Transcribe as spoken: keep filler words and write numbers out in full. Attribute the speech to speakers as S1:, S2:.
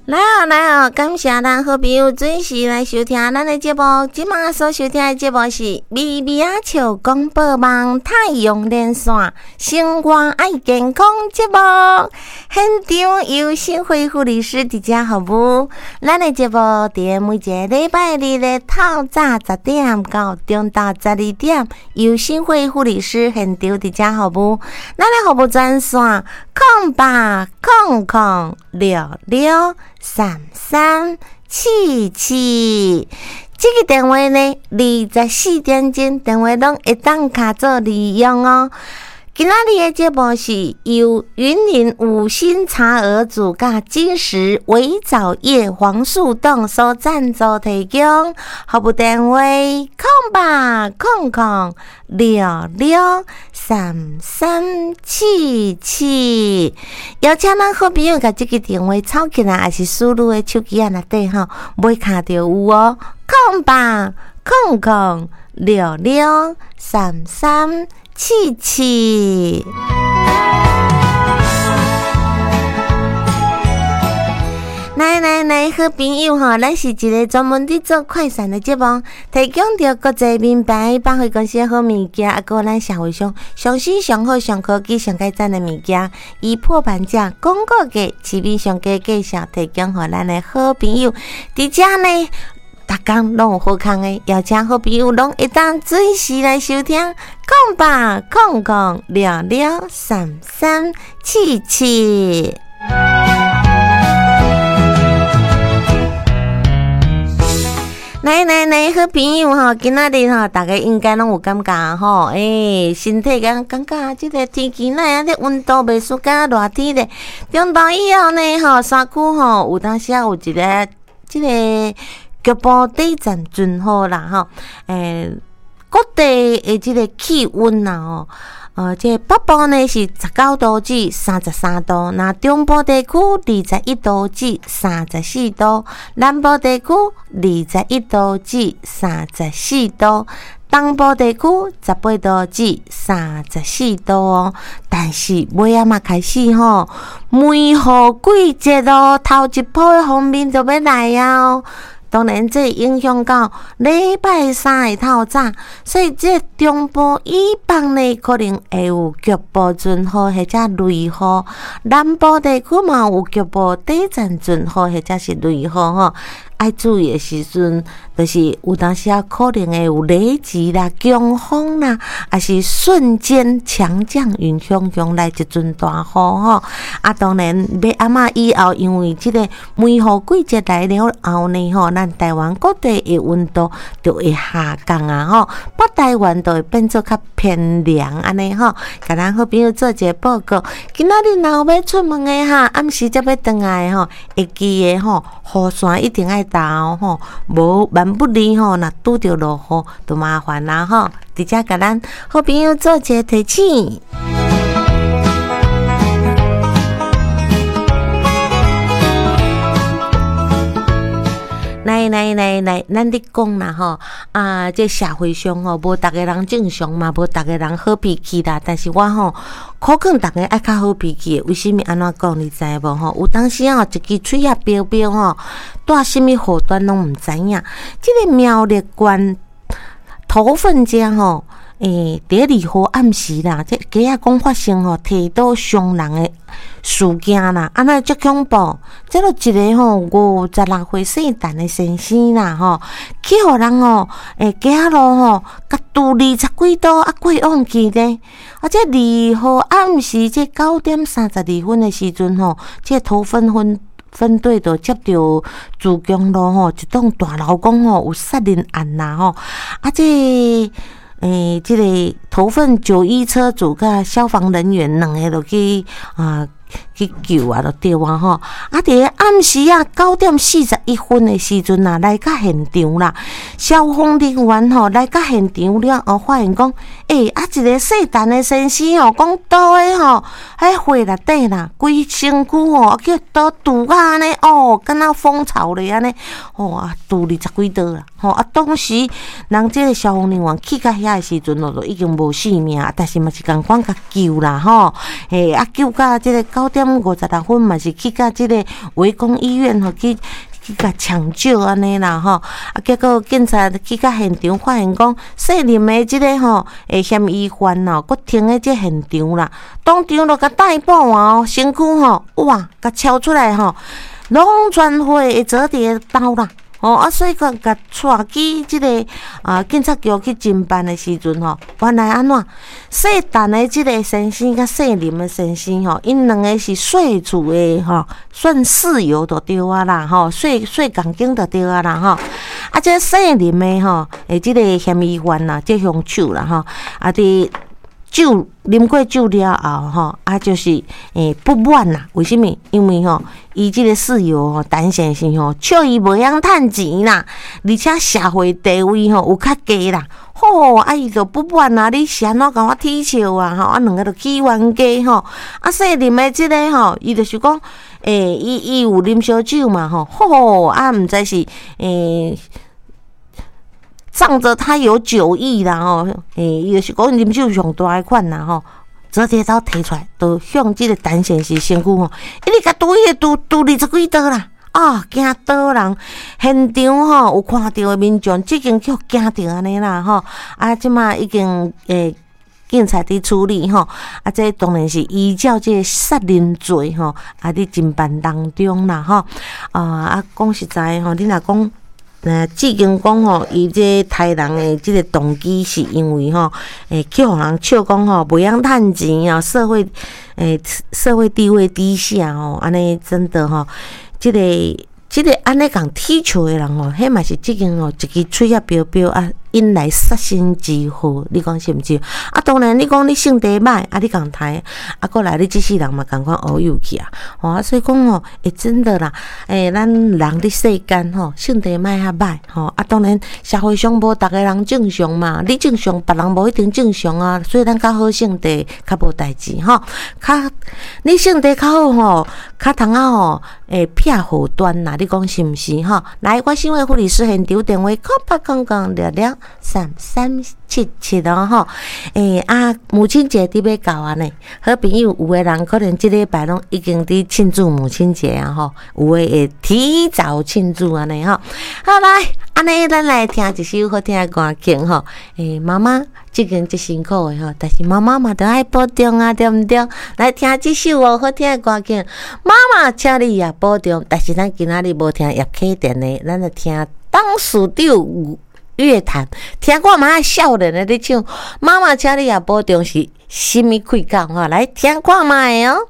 S1: 來哦來哦，感謝咱好朋友準時來收聽咱的節目。這馬所收聽的節目是《微微仔笑廣播網太陽連線生活愛健康》節目。現場由新輝護理師佇遮服務。咱的節目佇每一個禮拜日的透早十點到中晝十二點，由新輝護理師現場佇遮服務。咱的服務專線：空八空空六六三三七七，這個電話呢，二十四點鐘電話攏會當卡做利用哦。今仔日的節目是由雲林五星茶兒組佮金石微藻葉黃素凍所贊助提供。服務電話：空八空空六六三三七七。邀請咱好朋友共這個電話抄起來，抑是輸入的手機仔內底吼，尾跤就有哦。空八空空六六三三七七。來來來，好朋友吼，咱是一個專門佇做快閃的節目，提供著國際名牌百貨公司的好物件，啊，閣有咱社會上上新、上好、上科技、上蓋讚的物件，以破盤價、廣告價、市面上低價數提供予咱的好朋友。佇遮呢，逐工攏有好康的，邀請好朋友攏會當準時來收聽。空八空空六六三三七七。來來來，好朋友吼，今仔日吼，大家應該攏有感覺吼，欸，身體敢感覺這個天氣哪會按呢溫度袂輸敢熱天咧。中晝以後呢，吼，山區吼有當時仔有一個這個局部短暫陣雨啦，吼，欸，各地的這個氣溫啦，吼，呃，這個北部呢是十九度至三十三度，那中部地區二十一度至三十四度，南部地區二十一度至三十四度，東部地區十八度至三十四度哦。但是尾仔嘛開始吼，梅雨季節咯，頭一波的鋒面就欲來啊哦。當然，這影響到禮拜三的透早，所以這中部以北呢，可能會有局部陣雨或者雷雨；南部地區嘛有局部短暫陣雨或者是雷雨吼。愛注意的時陣，就是有當時仔可能會有雷擊啦、強風啦，抑是瞬間強降雨，雄雄來一陣大雨吼。啊，當然，欲暗仔以後，因為這個梅雨季節來了後呢，吼，咱台灣各地的溫度就會下降啊，吼，北台灣就會變做較偏涼按呢吼。共咱好朋友做一個報告，今仔日若有欲出門的哈，暗時才欲轉來的吼，會記得吼，雨傘一定愛擔吼，無萬不利吼，若拄著落雨就麻煩啦吼。佇遮共咱好朋友做一個提醒。來來來來，咱咧講啦吼，啊，這社會上吼，無逐个人正常嘛，無逐个人好脾氣啦。但是我吼，苦勸逐家愛較好脾氣的。為啥物按怎講？你知無吼？有當時吼，一支喙仔標標吼，帶啥物禍端攏毋知影。這個苗栗縣頭份遮吼，欸，佇咧二號暗時啦，這街仔講發生吼，提刀傷人的事件啦，啊哪會遮恐怖？這就一個吼五十六歲姓陳的先生啦吼，去予人吼，欸，街仔路吼，共挃二十幾刀啊，過往去咧。啊，這二號暗時這九點三十二分的時陣吼，這頭份分分隊就接著自強路吼，一棟大樓講吼有殺人案啦吼，啊這。欸，這個頭份九一車組佮消防人員兩个就去啊去救啊，就對啊吼。啊，佇咧暗時啊九點四十一分的時陣啊，來到現場啦。消防人員吼來到現場了後，發現講，欸，啊一個姓陳的先生吼，講刀的吼，彼火內底啦，規身軀吼，啊叫刀挃甲按呢，哦，敢若蜂巢咧按呢，吼啊，挃二十幾刀啦，吼啊，當時人這個消防人員去到遐的時陣咯，就已經無性命，但是嘛是仝款共救啦吼，嘿，啊救到這個九點五十六分嘛是去共這个圍攻醫院吼去去共搶救按呢啦吼，啊結果警察去到現場發現講，姓林的這个吼，欸嫌疑犯哦，閣停佇這現場啦，當場就共逮捕啊，身軀吼，哇，共抄出來吼，攏全血的折疊刀啦。哦，啊，所以講共帶去這个啊警察局去偵辦的時陣吼，原來按怎？姓陳的這个先生佮姓林的先生吼，𪜶兩个是稅厝的吼，算室友就對啊啦吼，睡睡仝間就對啊啦吼。啊，這姓林的吼，的這个嫌疑犯啦，這兇手啦吼，啊，佇酒啉過酒了後吼，啊，就是欸不滿啦。為啥物？因為吼，伊這個室友吼，陳先生吼，笑伊袂曉趁錢啦，而且社會地位吼有較低啦，吼，啊伊就不滿啊！你是按怎共我恥笑啊？吼，啊兩个就起冤家吼。啊，姓林的這个吼，伊就是講，欸，伊伊有啉燒酒嘛吼，吼，啊毋知是欸。仗著他有酒意啦吼，欸，伊就是講啉酒上大的款啦吼，折疊刀提出來，就向這个陳先生身軀吼，一直共拮伊個拮拮二十幾刀啦，啊，驚倒人，現場吼有看著的民眾，這經去予驚著按呢啦吼，啊，這馬已經欸。警察佇處理吼，啊，這當然是依照這个殺人罪吼，啊，佇偵辦當中啦吼，啊啊，講實在吼，你若講。呃，志堅講吼，伊這刣人的這个動機是因為吼，欸，去予人笑講吼，袂曉趁錢啊，社會欸社會地位低下吼，按呢真的吼，這个這个按呢共恥笑的人吼，彼嘛是這間吼一支喙仔標標啊，引來殺身之禍，你講是毋是？啊，當然你講你性地歹，啊你共刣，啊閣來你這世人嘛仝款烏有去啊，吼啊所以講吼，欸真的啦，欸咱人佇世間吼，性地莫遐歹吼，啊當然社會上無逐个人正常嘛，你正常，別人無一定正常啊，所以咱較好性地較無代誌吼，較你性地較好吼，較通仔吼會避禍端啦，你講是毋是吼？來，我新會護理師現場電話：空八空空六六三三七七哦吼。欸啊，母親節佇欲到啊呢，好朋友有的人可能這禮拜攏已經佇慶祝母親節啊吼，有的會提早慶祝按呢吼。好來，按呢咱來聽一首好聽的歌曲吼。欸，媽媽這經足辛苦的吼，但是媽媽嘛著愛保重啊，對毋對？來聽這首哦好聽的歌曲，媽媽請你也保重。但是咱今仔日無聽葉啟田的，咱來聽董事長樂團，聽看覓少年的咧唱，媽媽請你也保重是啥物氣講吼？來聽看覓哦。